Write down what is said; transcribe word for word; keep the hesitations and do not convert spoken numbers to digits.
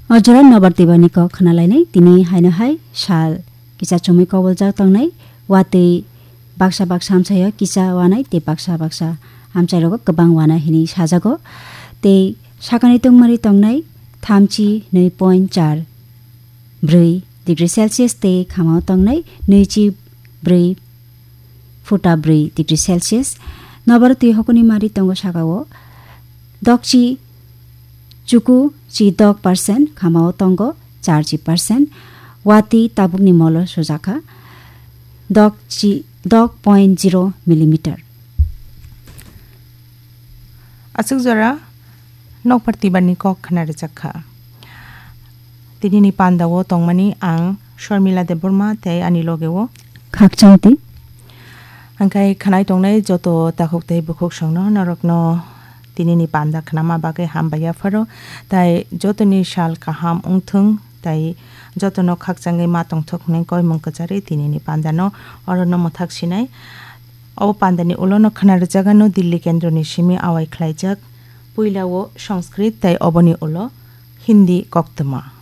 O jora nobar twibani kok khna lainai, tini haino hai sal kisa chumui koboljak tongnai, watwi baksa baksa hamsaio kisa wanai tei baksa baksa hamsairogo kwbang wana hinwi sajago. Tei sakani tungmari tongnai thamchi nwi point char brwi degree Celsius tei khamao tongnai nwichi brwi futa brwi degree Celsius. Nobar twi hokoni mari tongo sakao. Dokchi chuku chi dok percent, khamao tongo char chi percent. Watwi tabukni molo sujakha dok chi, dok point zero millimeter. Aswk jora nokbar twibani kok khna rwjak kha. Tinini pandao tongmani ang Sharmila Debbarma tei ani logeo Khakchangti. Hangkhai khnai tongnai joto takhuk tei bukhuk songno norokno tinini panda khnama bagwi hambai yapharo, tai jotoni sal kaham wngthung tai jotono khakchangwi ma tongthok hwnwi koimung kwcharwi tinini pandano orono mwthak sinai. O pandani ulono khna rwjagano Delhi kendroni simi awai khlaijak, puilao Sanskrit tai oboni ulo Hindi koktwma.